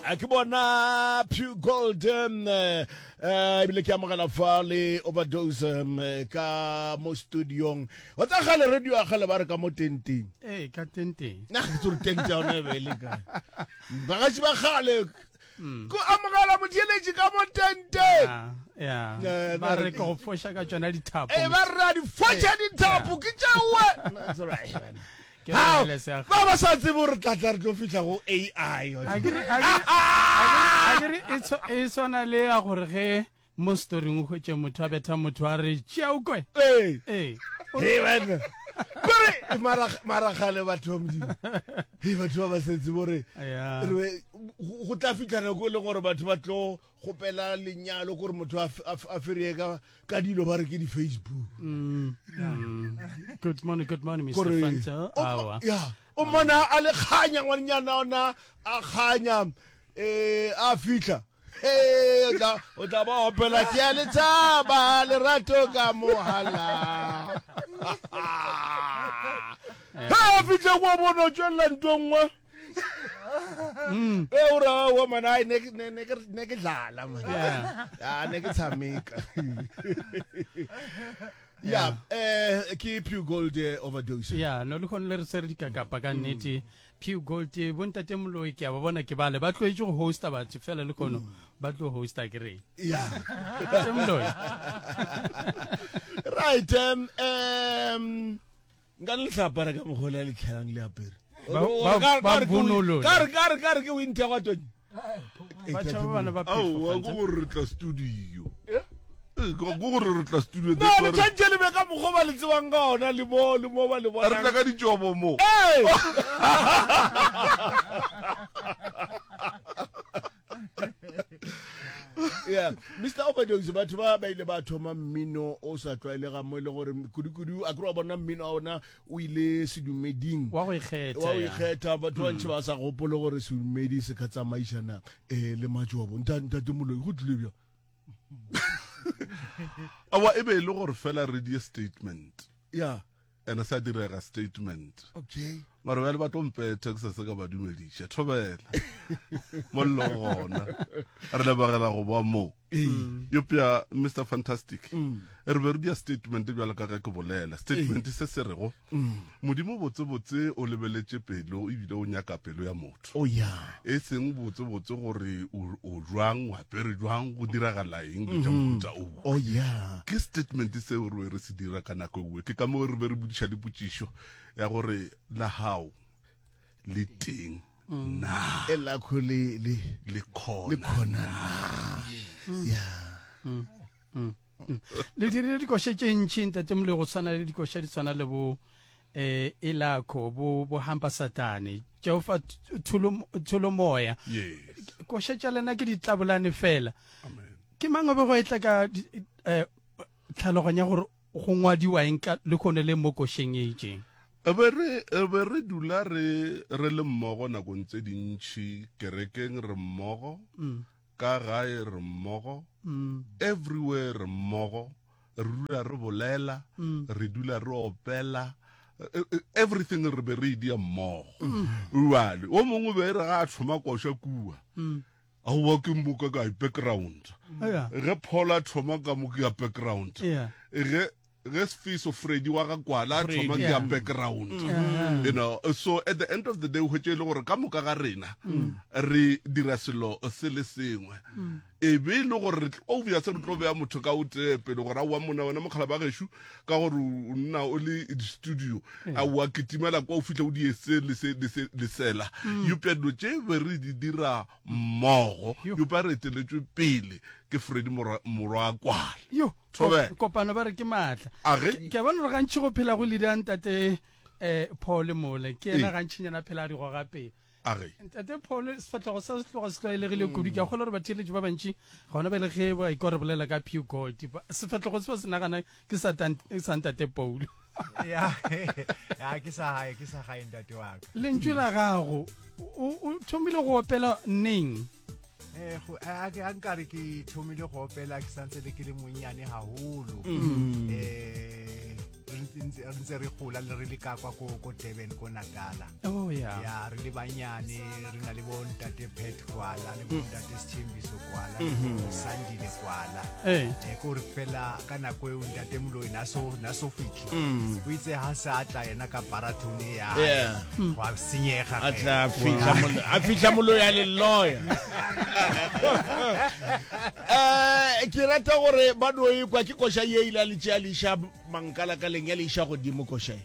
A ke bona Pure Gold um, eh, ebile ke amogela fa le overdose um, ka mo studiong wa tsa gale radio ya gale ba re ka mo tenteng ee ka tenteng nna ga ke tsore tente ya yone e be e le kae bagaši ba gale ko amogela motheeletši ka mo tenteng ya Eh, ba re ke go foša ka tšona dithapo ee ba re a di foša dithapo ke tšeoe Ke lebelele se a- ba ba sa tsebe gore tla tla re tlo fihla go ai Akere- akere- akere- akere e tshwa- e swana le ya gore ge mo storing o hwetše motho a betha motho a re tšea o kwe ee ee Hei, banna. Kore mara- mara kgale batho ba modimo hei batho ba ba setse bore Ya. re be- go go tla fitlha nako e leng gore batho ba tlo kgopela lenyalo kore motho a fereye ka ka dilo ba re ke di-facebook mm, mm. good morning good morning mr Fanta awa ya o mmona a le kganya ngwanenyana ona a kganya um a fitlha Hey, o tla o tla ba opela ke a lethaba lerato ka mohala ha a fitlha kwa bona o tswelela nto nngwe Mm. e o ra wa man ai ne ne ne ke ne ke dlala man ya ne ke tshameka ya eh ke pure gold eh, overdose ya no le khone le re tsere dikakapa ka nnete pure gold eh, bontate moloi ke a ba bona ke bale ba tloetse go hosta batho fela le kono ba tlo hosta ke reng ya Ntate moloi right um um nka le tla apara ka mokgwa le letlhelang le apere Ba bonolola. ka re ka re ka re ke winter kwa tone Ba tšhaba bana ba phefo, aowa Fanta. ke gore re tla studio Ee, ke ke gore re tla studio no that's le why re- tshwanetse le be ka mokgwa ba le tsebang ka ona le mo le mo ba le re tla bonang ka ditšobo mo Ee! yeah mr overdose batho ba ba ile ba thoma mmino o sa tlwaelegang mo e le gore kudu-kudu a kere wa bona mmino wa ona o ile sedumeding wa go ikgetha wa go ya. ikgetha batho ba ntšhi ba sa gopole gore sedumedi se ka tsamaišana um le matšobo ntate moloi go tlile bjang awa e be e le gore fela re die statement ya ene sa direga statement okay mara bjale ba tlo mpetha ke sa se ka ba dumediša thobela mollo gona re lebagela go ba mo eupša mr fantastic re be re dia statement bjalo ka ge ke bolela statement se se rego modimo botsebotse o lebeletše pelo ebile o nyaka pelo ya motho oh yeah e seng botsebotse gore o o jwang o apere jwang go diragala eng dilo tša mohuta o oh yeah ke statement seo re be re se dira ka nako engwe ke ka moo re be re bodiša le potšišo ya gore la gago le teng na e lakho le le le le khona khona na yeah le dirile dikoša tše ntši ntate moloi go tshwana le dikoša di tshwana le bo eh elakho bo bo hampa satane Jehova thulo thulo moya yes koša tša lena ke ditlabolane fela amen ke mang o be go etla ka eh, tlhaloganya gore go ngwadiwa eng ka le kgone le mo košeng e itšeng E be re e be re dula re re le mmogo nakong tse dintši kerekeng re mmogo ka gae re mmogo everywhere re mmogo re dula re bolela re dula re opela e, e, everything re be re e dia mmogo jale o mongwe be re ga a thoma koša kua aowa ke mmoka ka background ge paul a thoma ka mo ke ya background ge ge Sfiso Freddy wa ga Kwala a thoma ke ya background mm. you know so at the end of the day o hwetše e le gore ka moka ga rena mm. re dira selo se le sengwe mm. e be e le gore obvious re tlo beya motho ka o tee pele gore aowa mona wena mokgala ba gešo ka gore o nna o le di-studio aowa kitimela kwa o fitlha o die se le sela eupša dilo tše be re di dira mmogo eupša re eteletšwe pele ke Freddy morwa Kwala yo Thobela. kopano ba re ke maatla A ge? ke a bona gore gantši go phela go leader ntate um paul mole ke ena Ee. gantšinyana phela a di goga pele A ge? ntate paul sefatlhego sa se tloga se tlwaelegile kudu ke a kgolwa gore batheeletši ba bantši gona bjale ge ba ikwa re bolela ka pew gold ba- sefatlhego se ba se nagana ke sa tan- sa ntate paul ya ya ke sa gae ke sa gae ntate wa ka lentšu la gago o o thomile go opela neng Eh, go- a a- a nkare ke thomile go opela ke santse le ke le monnyane haholo um re ntse re gola le re le ka kwa ko ko Durban ko Natala. Oh yeah. Ya re le banyane re na le bo ntate Pat Kwala le bo ntate Sthembiso Kwala le bo Sandile Kwala. Ee. Eh ko re fela ka nako eo ntate Moloi na so na so fitlhe. O itse ha sa tla yena ka baratone ya. Yeah. Gwa senyega. A ge. tla a fihla molo- a fihla moloi a le lawyer. Eh ke rata gore ba no e kwa ke koša ye ile a le tšea le iša mankalakaleng ya le iša godimo koša e.